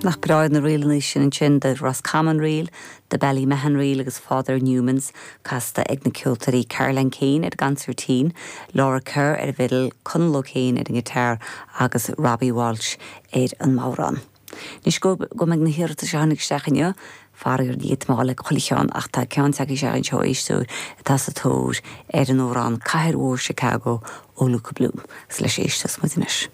Nach breá iad na ríleanna sin ansin, The Roscommon Reel, The Ballymahon Reel agus Father Newman's, casta ag na ceoltóirí Caroline Keane ar an gconsairtín, Laura Kerr ar an bhfidil, Conall O'Kane ar an ngiotár agus Robbie Walsh ar an mbodhrán. Anois go go mbeidh na hiarratais a tháinig isteach inniu, faraor ní fhéadfaidh mé a dhul ag chuile cheann ach tá ceann tagtha isteach anseo ó éisteoir atá sa tóir ar an amhrán Cathair Mhór Chicago ó Luka Bloom agus leis a éisteos muid anois.